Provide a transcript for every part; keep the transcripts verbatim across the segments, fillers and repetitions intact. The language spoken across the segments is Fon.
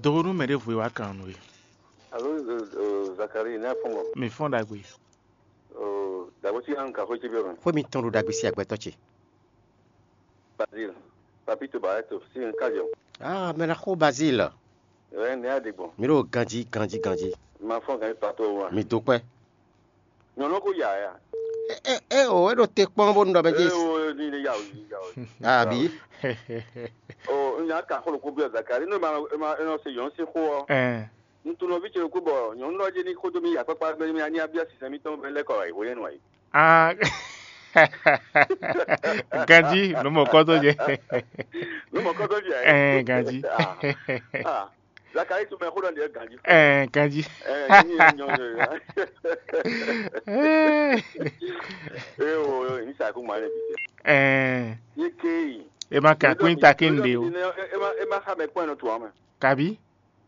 Do nú mɛ ɖěvo e wá kan nú we. Alo, Zakari, ní afɔn mɔ. Mi fɔ́n ɖagbe. Dàgbé sí hàn kà xwé cí bí ọmọ. Xwé mitɔn ɖo ɖagbe sí agbɛtɔ́ ce. Bazil, papi to ba to sí n kájọ. Ah, mɛ ná xó Bazil. Ɛ ní aɖe gbɔn. Mi ɖo ganjí, ganjí, ganjí. Ma fɔn gan pato wa. Mi dó kpɛ. Nyɔnu ko ya ya. Ɛ ɛ o, e ɖo te kpɔn bó nu ɖɔ bɛ jí. Ɛ o, ni ni ya o, ni ya o. Abi. O, n yà kà xolo kó bí Zakari, ní ma ma e nɔ se yɔn sí xó ɔ. Ɛ. N tunɔ ví ce kú bɔ nyɔnu ɖɔ jí ní xó dó mi ya kpákpá gbé mi anyá bí asisɛ mi tɔn bɛ lɛkɔ wá yi hó yẹn nɔ yi. Ah. Ganjí, nú mɔ kɔ́ tó jɛ. Nú mɔ kɔ́ tó jɛ. Ɛ, ganjí. Ah. Zakari tún mɛ xó ɖɔ ní ɛ ganjí. Ɛ, ganjí. Ɛ, ní ɛ nyɔ nyɔ. Ɛ. Ɛ o, ní sa kú ma lɛ bi. Ɛ. Yé ké yi. E ma ka kún ta kí n ɖe o. E ma e ma xa mɛ kpɔn nɔ tu amɛ. Kabi.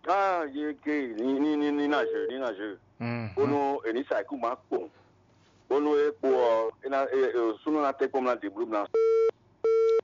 Ah, yé ké yi ní ní ní ní na jeu, ní na jeu. Mhm. Bónú e ní sa kú ma kpɔn. Bónú e kpó ɔ, e na e e súnú na tɛ kpɔn na déblu na.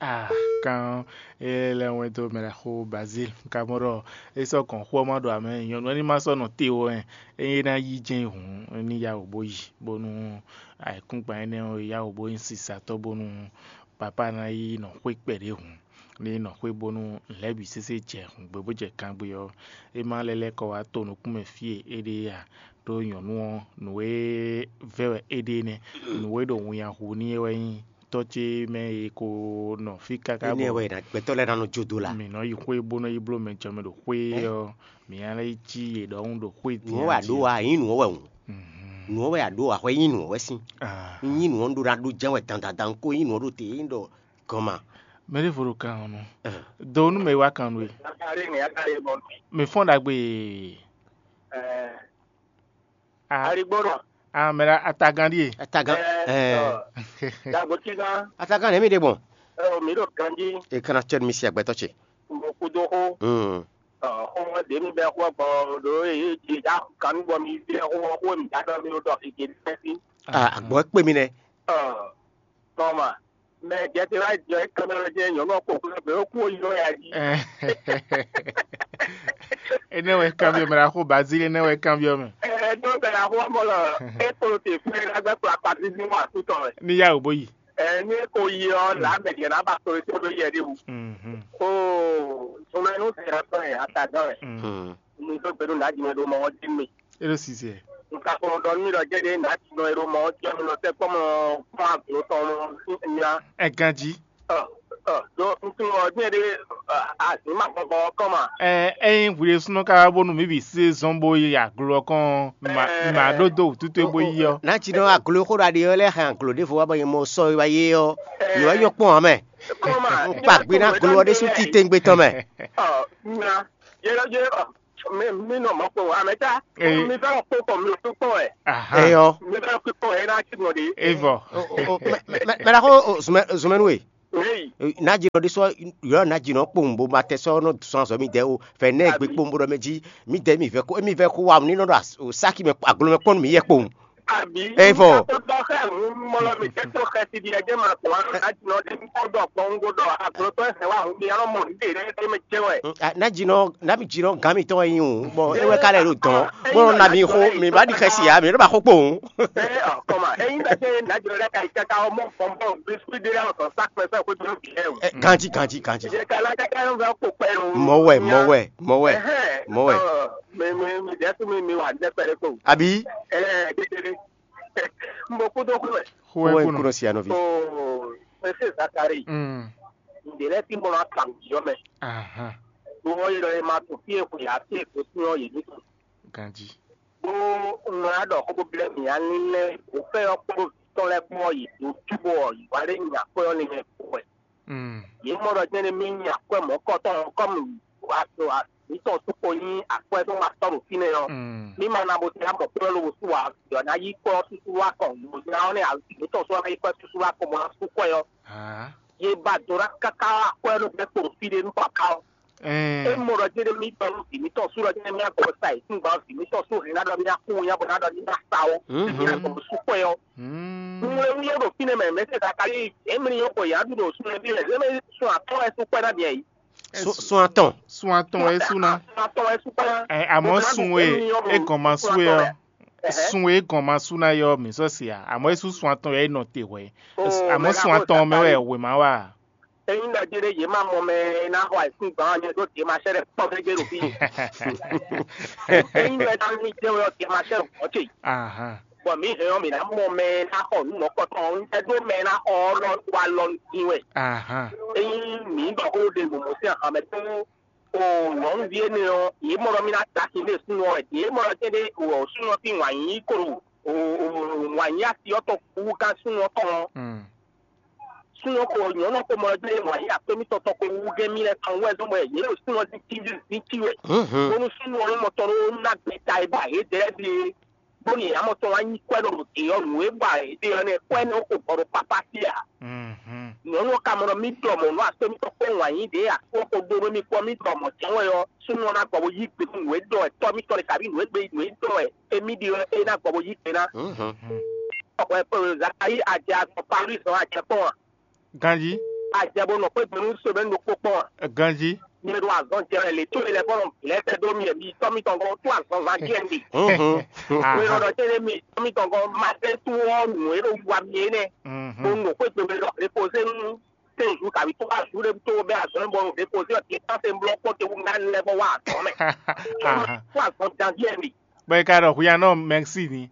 Ah, kan e lɛ wɛn dó mɛ xó Bazil kamɔɖɔ e sɔ kɔn xó ma ɖo amɛ nyɔnu ɛni ma sɔ nɔ te o ɛ. Eye na yi jɛn hǔn ní ya wò bó yi bónú ayǐkúngban énɛ́ ɔ́ ya wò bó nyí sisatɔ́ bónú papá ná yi nɔ xwé kpɛɖé hǔn. Ní nɔ xwé bónú lɛ̌ bǐ sésé jɛ hǔngbe bó jɛ kangbé ɔ́, é má lɛ́ lɛ́ kɔ wá to nukúnmɛ fí e é ɖe é ǎ. Ɖó nyɔ̌nu ɔ́, nǔ e vɛ́ wɛ é ɖe nɛ́. Nǔ e ɖo winnya hu n'i é wɛ nyí tɔ́ ce mɛ e ko nɔ fí káká. Énɛ́ wɛ gbɛtɔ́ lɛ́ɛ ná nɔ jó dó la. Mǐ nɔ yi xwé bó nɔ yi bló mɛ jɔmɛ ɖo xwé ɔ́, mǐ ná lɛ́ yi cí yě ɖɔhun ɖo xwé din. Nǔ ɔ́ wɛ a ɖǒ wa, nyǐ nǔ ɔ́ wɛ hǔn. Nǔ ɔ́ wɛ a ɖǒ wa, hwɛ nyí nǔ ɔ́ wɛ sín. Nyí nǔ ɔ́ ɖó ná ɖó jɛ́n wɛ dandan dan kó nyí nǔ ɔ́ ɖó te é ɖɔ gɔn ma. Mɛ ɖěvo ɖo kan ɔ́ nú. Do nú mɛ e wá kan nú we. Mɛ fɔ́n ɖagbe. Aligbɔnɔ. Ah, mɛ ɖa atagán ɖíe. Atagán. Ɛɛ, ɔ, Dagbotígán. Atagán nɛ̌ mi ɖe gbɔn? Ɔ, mi ɖo ganjí. E kana cɛ mi si agbɛtɔ ce. Mo kudo xó. Hmm. Ɔ, xó ɖě mi bɛ xó gbɔ ɖo e e da kanu bɔ mi bɛ xó xó mi da dɔ mi ɖo dɔ ege fɛ́ sí. Ah, agbɔ kpé mi nɛ. Ɔ, tɔma. Mɛ jɛte wá jɔ é kanmɛ jɛ nyɔ̌nu ɔ́ kpokplá gbé ó kú ó ylɔ́ ya jí. Énɛ́ wɛ kanbyɔ́ mɛ ɖaxó Bazíli, énɛ́ wɛ kanbyɔ́ mɛ. Ɛ ɖó bɛ ɖaxó ɔ́ mɔ lɔ é kpló te fún ɛ lágbá kplá kpatí dín wá sú tɔn wɛ. Ní yá wò bó yi. Ɛ ní é ko yi ɔ́, là mɛ jɛ ná ba kpló tó ɖó yɛ ɖé wú. Mhm. Ó sunmɛ nú sɛ ɔ́ tɔn ɛ atadɔn ɛ. Mhm. Ní tó gbɛdó nǎ jimɛ ɖó mɔ ɔ́ dín mì. É ɖo sisɛ. Nka kplɔn ɖɔ nú mi ɖɔ jɛɖe nǎ tinɔ e ɖo mɔ ɔ́ jɛ nɔ tɛ́ kpɔ́ mɔ kpɔ́n aglo tɔn nya. Ɛ ganjí. Ɔ, ɔ, ɖo nutun ɔ́ jɛ ɖe azǐn ma gbɔgbɔ ɔ́ kɔn ma. Ɛ ényí hwi ɖésúnɔ ka wá bónú mǐ bǐ sí zɔ́n bó yi aglo ɔ́ kɔn ɔ́, mǐ ma ɖó dó wǔtútú e bó yi ɔ́. Nǎ tinɔ aglo e xó ɖo aɖi ɔ́ lɛ́ hɛn aglo ɖěvo wá bɔ nyɛ mɔ sɔ e wá yé ɔ́, nǔ ɔ́ nyɔ́ kpɔ́n ǎ mɛ. Kɔn ma. Un kpa gbe ná aglo ɔ́ ɖésú títewungbe tɔn mɛ. Ɔ, nya, yɛ lɔ jɛ ɔ. Mi mi nɔ mɔ kpɔn amɛta. Ee. Mi fẹ́ kpɔn kpɔn mi tó kpɔn ɛ. Aha. Eyɔ. Mi fẹ́ kpɔn kpɔn ɛ n'a ti nɔ de. Evɔ. Mɛ mɛ mɛ la ko zumɛ zumɛ nu ye. Ee. N'a jinɔ de sɔ yɔ n'a jinɔ kpɔn bo ma tɛ sɔ nɔ sɔn azɔ mi dɛ o fɛ nɛ gbe kpɔn bo dɔ mɛ ji mi dɛ mi vɛ ko mi vɛ ko wa ni nɔ dɔ saki mɛ aglo mɛ kpɔn mi yɛ kpɔn. Abi. Evɔ. Tó dɔ xɛ ŋu mɔlɔ mi tɛ tó xɛ ti di ɛjɛ ma kpɔn alo n'a jinɔ de mi kpɔn dɔ kpɔn ŋgo dɔ aglo tɔ ɛsɛ wa ŋu mi alɔ mɔ ní de ɖe ɖe mɛ jɛ wɛ. N'a jinɔ n'a mi jinɔ gan mi tɔn yin o bɔn e wɛ ka lɛ ɖo dɔn bɔn na mi xo mi ba di xɛsi ya mi ɖo ba xo kpowun. Ɛ ɔ kɔma eyin bɛ se n'a jinɔ ɖe ka yi kaka ɔ mɔ fɔn bɔn biscuit de la sɔ sa kpɛ sɔ ko jɔ bi ɛ o. Ganji ganji ganji. Jɛ ka la kaka yɔ vɛ ko kpɛ o. Mɔwɛ mɔwɛ mɔwɛ mɔwɛ. Mi mi mi dɛ tu mi mi wa dɛ kpɛ de ko. Abi. Ɛ dedede. N bɔ kúdó kúrò. Xó ɛ kúnɔ. Xó ɛ kúnɔ si anɔvi. Oo, mɛsɛ Zakari. Mm. Ǹdè lɛ ti mɔ akam jɔ mɛ. Ahan. Wọ́n yɔ ẹ máa tún fí èkó yà á sí èkó sí ọ̀ yìí nítorí. Ganji. Bó ń ra dọ̀ kó bó bilẹ̀ mì á ní lẹ́ kó fẹ́ ọ́ kó tọ́ lẹ́ kó ọ̀ yìí tó túbọ̀ ọ̀ yìí wá lé nyà kó ọ̀ ní mɛ kó ẹ̀. Mm. Yě mɔ ɖɔ jɛ́n mi nya akwɛ́ mɔ̌kɔtɔn kɔ́mu mǐtɔn súkpo nyí akwɛ́ tó ma tɔ́ ɖo fínɛ́ ɔ́, Mm. mí ma ná bo tlá mɔ̌kpɔ́ lobo sú wa yɔ ná yí kɔ súsú wá kɔn, lobo ná ɔ́ nɛ́ mǐtɔn sú wá yi kɔ súsú wá kɔn bó ná sú kɔ ɔ́. Ah. Yě ba do ná káká akwɛ́ ló bɛ́ kpo ɖo fí ɖé nú papa ɔ́. É Ɛɛ. mɔ ɖɔ jɛ́n mí tɔn nú vǐ mítɔn sú ɖɔ jɛ́n mí agɔ sa yě sín gbǎn vǐ mítɔn sú hɛn ná ɖɔ mí ná kú nya bɔ ná ɖɔ mí ná sa ó. Mhm. Mí ná gbɔn sú kɔ ɔ́. Mm. Nú é wúyɔ ɖo fínɛ́ mɛ mɛ̌ se Zakalíi, é mlí nyɔ́ xɔ yǎ ɖu ɖo súnmɛví lɛ́ɛ, é mɛ sun atɔ́ wɛ sú kpɛ́ ná bia yìí. Sun atɔn. Sun atɔn wɛ é sú ná. Atɔn wɛ sú kpá. Ɛ, àmọ́ sun e é gɔn ma sú é ɔ́, sun e é gɔn ma sú ná yɔ mǐ sɔ́ se ǎ, àmọ́ é sú sun atɔn wɛ é nɔ te hwɛ̌. Àmọ́ sun atɔn mɛ wɛ wěma wa. Eyín ɖɔ jé ɖé yě má mɔ mɛ ná xɔ àìsín gbɔn ɔ́, nyɛ ɖó dě ma sɛ́ ɖɛ kpɔ́ gégé ɖo fí. Eyín mɛ ná ní jẹ́ wɛ ɔ́, dě ma sɛ́ ɖɔ kpɔ́ ce. Ahan, Bɔ mǐ hɛn ɔ́, mǐ ná mɔ mɛ ná xɔ nǔ mɔ̌kɔtɔn ɔ́, un jɛ ɖó mɛ ná xɔ ɔ́ lɔ wá lɔ dín wɛ. ahan. Eyín mǐ ɖɔ xó ɖe mɔ̌mɔ́ sín axǎ mɛ tó o nyɔ̌nuví énɛ́ ɔ́, yě mɔ ɖɔ mì ná da sin ɖé súnnu ɔ́ wɛ. Yě mɔ ɖɔ tɛ́nɖé o súnnu ɔ́ sín wǎn yí klo o wǎn yí asi ɔ́ tɔn kú gán súnnu ɔ́ tɔn ɔ́. Mm. Súnnu ɔ́ ko nyɔ̌nu ɔ́ ko mɔ ɖɔ tɛ́nɖé wǎn yí akpémítɔn tɔn ko wú gɛ́n mì lɛ́ɛ tɔn wɛ zɔ́n bɔ yě ɖo súnnu ɔ́ dín tíví dín tí wɛ. Bónú súnnu ɔ́ mɔ tɔn ɖó ná gbɛta e ba yě dɛ́ ɖe bónú yě ná mɔ tɔn wá nyí kwɛ́ ɖo ɖě ɔ́ nǔ e ba yě ɖe ɔ́ nɛ́ kwɛ́ nɛ́ ko bɔ ɖo papá sí ǎ. Mhm. Nyɔ̌nu ɔ́ ka mɔ ɖɔ mì ɖɔ mɔ̌ nú akpémítɔn kpó wǎn yí ɖě akpó ko ɖó nú mì kpɔ́ mì ɖɔ mɔ̌ jɛ́n wɛ ɔ́, súnnu ɔ́ ná gbɔ bó yí gbe nú nǔ e ɖɔ wɛ tɔ́ mítɔn ɖe kabí nǔ e gbe nǔ e ɖɔ wɛ émí ɖe ɔ́, é ná gbɔ bó yí gbe ná. Ɔhwɛ Zakayi ajɛ azɔn Paris ɔ́ ajɛ kpɔ́n a? Ganjí, Ajɛ bó nɔ xwé gbe nú semaine ɖokpó kpɔ́n a? ganjí. Mi ɖo azɔn jɛ wɛ lě có e lɛ bɔ nɔ lɛ́ tɛ dó mi mi tɔ́ mítɔn gɔ́n tó azɔn zán díẹ̀ mi. Aha. Mɛ ɖɔ tɛ́nɖé mi tɔ́ mítɔn gɔ́n ma tɛ tó ɔ́ nǔ e ɖo wa mi é nɛ́. Mhm. Bó nɔ xwé gbe mɛ ɖɔ repoze nú tɛn zu kabi tó wá zu ɖé tó bɛ azɔn bɔ repoze ɔ́ ti tán se blɔ kpɔ́ te wú ná lɛ bɔ wá azɔn mɛ. Aha. Tó azɔn jan díẹ̀ mi. Bɔ é ka ɖɔ hwiya nɔ mɛxi ni.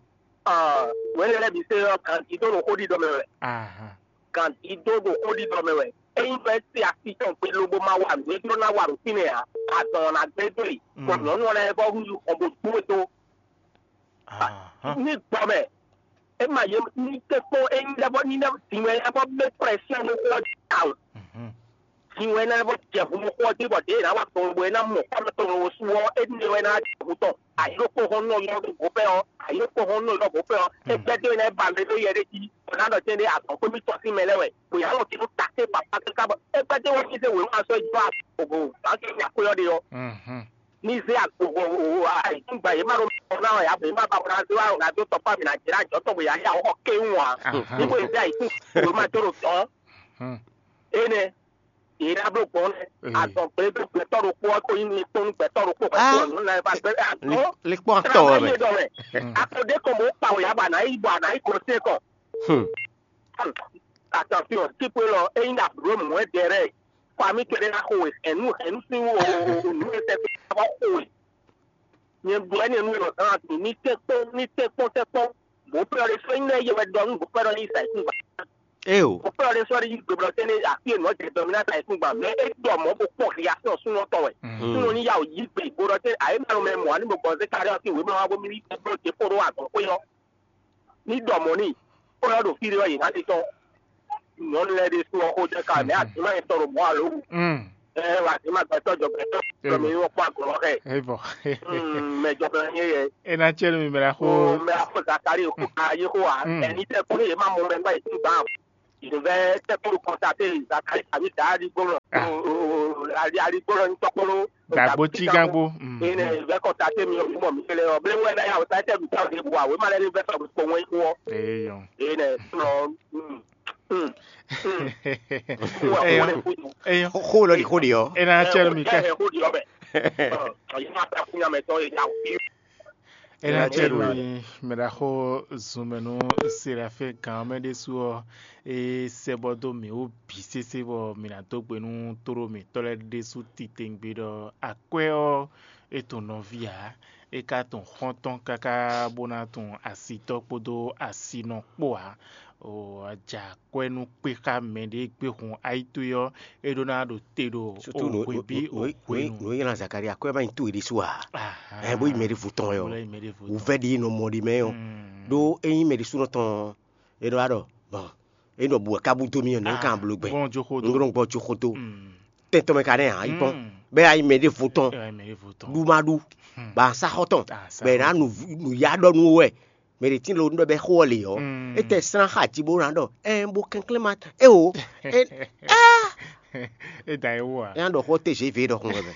Wɛlɛ lɛ bi se ɔ́ kan ti tó nɔ xó ɖi dɔ mɛ wɛ. Aha. Kan ti tó nɔ xó ɖi dɔ mɛ wɛ. Eyin bɛ se asi tɔn gbe lobo ma wa nǔ e jló ná wa ɖo fínɛ́ ǎ. Azɔn ɔ́ ná gbé dó e. Bɔ nyɔ̌nu ɔ́ lɛ́ɛ vɔ hu yi xɔ bó dó e tó. Aha. Ní gbɔ mɛ. E ma ye ní tɛ kpɔn eyin lɛ bɔ ní lɛ din wɛ lɛ bɔ bɛ pression nú xɔ jí tawun. Mhm. Din wɛ lɛ bɔ jɛ hu nú xɔ jí bɔ ɖě ná wa tɔn bɔ é ná mɔ kɔmɛ tɔn wo sú ɔ́, é ní wɛ ná jɛ hu tɔn. Ayokpo hɔn nɔ yɔ ɖo gopɛ ɔ́, ayokpo hɔn nɔ yɔ gopɛ ɔ́, é gbɛdó lɛ ba mɛ ɖó yɛ ɖé jí. Ɔ̀nà ɖɔ tɛ́ ɖé azɔn kpé mì tɔn sín mɛ lɛ́ wɛ. Bòyá lɔ tínú takpé papa káká bɔ é gbɛdó wɛ sín wěma sɔ́ jɔ àgbògbò bá kí ní akwé ɔ́ ɖe ɔ́. Mhm. Ní zé agbògbò àìsúgba yě má ɖo mɔ náà yá bɔ yě má ba wɔ ná zé wá wɔ ná dó tɔkpá mǐ ná jɛ ná jɔ tɔn bɔ yǎ yá wɔ kɛ́ wú ǎ. Aha. Ní bó yě zé àìsúgba yě má tó ɖo tɔn. Hmm. Énɛ́ yě ná bló gbɔn Ee. azɔn gbé gbé gbɛtɔ́ ɖokpó ɔ́ tó yín ní kpɔ́n gbɛtɔ́ ɖokpó Ah. gbɛtɔ́ nǔ ná yɛ bá gbé Li- likpɔ́n atɔ wɛ mɛ. Dɔ wɛ. Akɔdé kɔn bó kpa wò yá ba ná yí bɔ ná yí gosé kɔn. Hmm. Attention, tipo lɔ eyin na bro mɔ ɛ dɛrɛ. Famille kɛlɛ na xo wɛ ɛnu ɛnu si wo nu ɛsɛ fi aba xo wɛ. Nyɛ bu ɛni ɛnu lɔ zan ati ni tɛ kpɔn ni tɛ kpɔn tɛ kpɔn. Bó pɛ ɔlẹ sɔ ɛyin lɛ yɛ wɛ dɔnu bó pɛ ɔlẹ sa ikun gba. Eo. Bó pɛ ɔlẹ sɔ ɛyin gbɛblɔ tɛ ne afi ɛnu ɔjɛ dɔmina sa ikun gba mɛ e dɔ mɔ bó kpɔ ya sɔ sunɔ tɔ wɛ. Sunɔ ni ya o yi gbe bó dɔ tɛ ayi ma mɛ mɔ ani bó gbɔn se kari ɔsi wɛ mɛ wa bó mi ni gbɛblɔ tɛ kpó ɖo azɔn xó yɔ. Ní ɖɔ mɔ̌ n'i, bó ná ɖo fí ɖé ɔ́, yě ná ɖe tɔ́. Nyɔ̌nu lɛ́ɛ ɖésú ɔ́ xó jɛ ká mɛ azǐmá nyɛ tɔn ɖo mɔ̌ alo wú. Mm. Ɛ azǐmá gbɛtɔ́ jɔ gbɛtɔ́ jɔ mi wɔ kpó agɔ̌ xɛ. Evɔ. Mɛ jɔ bɛ nyɛ yɛ. E na tsɛ nu mi mɛ la Ko xo. mɛ afɔ Zakari ko ka yi xó wa. Mm. Ɛni tɛ kó yě má mɔ mɛ gbá yě tún gbá. Ìdòvɛ tɛ kó kɔntate Zakari tàbí dàá ɖi gbɔmɔ. Ah. Aɖi aɖi gbɔmɔ ní tɔkpɔló. Dàgbò tí gángbó. Mm. Ene vɛ kɔntate mi ɔmɔ mi kele ɔ. Bɛ wɛ na ya o sa tɛ mi ta o de bu awe ma lɛ ni vɛ sɔ gbɔ wɛ kó. Eyɔn. Ene sɔ. Mm. Mm. Mm. Eyɔn. Eyɔn. Xo lɔ di xo de ɔ. E na tsɛ nu mi kɛ. Ɛ xó di ɔbɛ. Ɔ yɛ ma ta fún yàmɛ tɔ yɛ ya o. E na Ɛ, tsɛ nu ɛ, mi mɛ ɖa xo zunmɛnu Serafin gan mɛ ɖésú ɔ. E sɛ bɔ dó mi wó bǐ sésé bɔ mi na dó gbe nú tóɖó mǐtɔn lɛ́ɛ ɖésú titewungbe ɖɔ akwɛ́ ɔ́ e tɔn nɔví ǎ, é ka tɔn xɔ́ntɔn káká bó ná tɔn asitɔ́ kpódó asinɔ kpó ǎ. O aja akwɛ́ nú kpé xá mɛ ɖě gbé hun ayítoe ɔ́, é ɖó ná ɖo te ɖo Surtout no hwebí no no hwenu. no yɛlɛ Zakari akwɛ ma nyi to yi ɖésú a. Aha. Ɛ bó yi mɛ ɖé vo tɔn yɔ. Bó lɛ yi mɛ ɖé vo tɔn. Wuvɛ ɖi nɔ mɔ ɖi mɛ yɔ. Mm. Ɖó eyin mɛ ɖésú nɔ tɔn e ɖɔ aɖɔ bɔn e ɖɔ bu wɛ kabu do mi yɔ nɔ kan blo gbɛ. Gbɔn jo xo N ɖo gbɔ tso xo to. Mm. Tɛntɔn mɛ ka nɛ hàn yi kpɔn. Mm. Bɛ ayi mɛ ɖé vo tɔn. Ɛ mɛ ɖé vo tɔn. Ɖu ma ɖu. Ah, sa Ba sa xɔ tɔn. Ah, sa Bɛ xɔ na tɔn. nu nu ya ɖɔ nu wɛ. Mɛ ɖe tin lo nu ɖɔ bɛ xo ɔ le yɔ. Mm. E tɛ sran xa dzi bó na ɖɔ. Ɛ bo kɛnklɛn ma. E o. E E da ye wo a. e na ɖɔ xɔ te zé ve ɖɔ kun wɛ mɛ.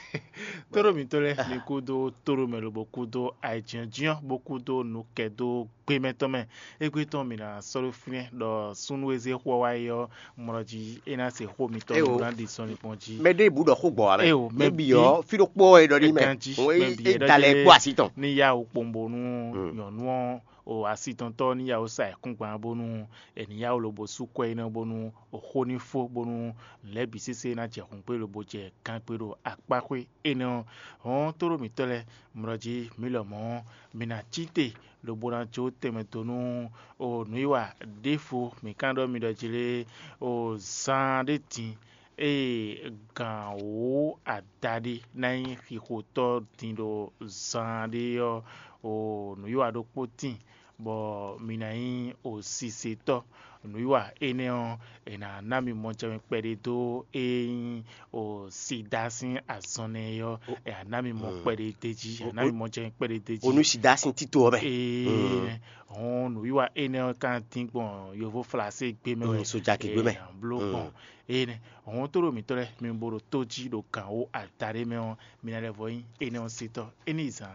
Tóɖó mǐtɔn lɛ́ɛ mi kúdó tóɖó mɛ lobo kúdó ayǐjínjɔ́n bó kúdó nukɛdó gbémɛ tɔn mɛ. Égbé tɔn mǐ ná sɔ́ ɖó fínɛ́ ɖɔ súnnu e zé xó ɔ́ wá yi ɔ́, mlɔ jí é ná se xó mitɔn Eo. Ní ná ɖi sɔ́ ní kpɔ́n jí. Mɛ ɖé bǔ ɖɔ xó gbɔ wá mɛ. Eo, mɛ Mɛ bǐ byɔ́ ɔ́, fí ɖokpó wɛ ɖɔ ní mɛ. Ganjí, Òun mɛ é- bǐ é wɛ da lɛ ɖɔ kpó así tɔn. Ní yá wǔ kpɔ́n bónú nyɔ̌nu ɔ́, o asitɔntɔ́ ní yá wǔ sa ayǐkúngban bónú è ní yá wǔ lobo sú kwɛ énɛ́ bónú o xó ní fó bónú lɛ̌ bǐ sésé ná jɛ hǔngbé lobo jɛ gangbé ɖo akpáxwé énɛ́ ɔ́. Hɔn tóɖó mǐtɔn lɛ́ɛ mlɔ jí mǐ lɔmɔ̌ mǐ ná cí te lobo ná jó tɛnmɛ dó nú o nǔwiwa ɖěvo mǐ ka ɖɔ mi ɖɔ jí lé o zan ɖé din ée gǎn wǒ adaɖé ná nyí xixotɔ́ din ɖo zan ɖé ɔ́, o nǔwiwa ɖokpó tíin bɔ mi ná nyí o sisetɔ́. Nǔwiwa énɛ́ ɔ́, è nǎ ná mi mɔjɛmɛ kpɛɖé dó e nyí o sida sín azɔn nɛ́ ɔ́, è nǎ ná mi mɔ kpɛɖé d'é jí, è nǎ mi mɔjɛmɛ kpɛɖé d'é jí. Onu sida sín tito ɔ́ mɛ. Ee, hɔn nǔwiwa énɛ́ ɔ́ ka dín gbɔn yovo flasé gbé mɛ wɛ. Mm, sojakí gbé mɛ. Ee, bló gbɔn énɛ́. Hɔn tó ɖo mǐtɔn lɛ́ɛ mi bo ɖo tó jí ɖo gǎn wó adaɖé mɛ ɔ́, mi ná lɛ́ vɔ nyí énɛ́ ɔ́ sítɔ́. É ní zan.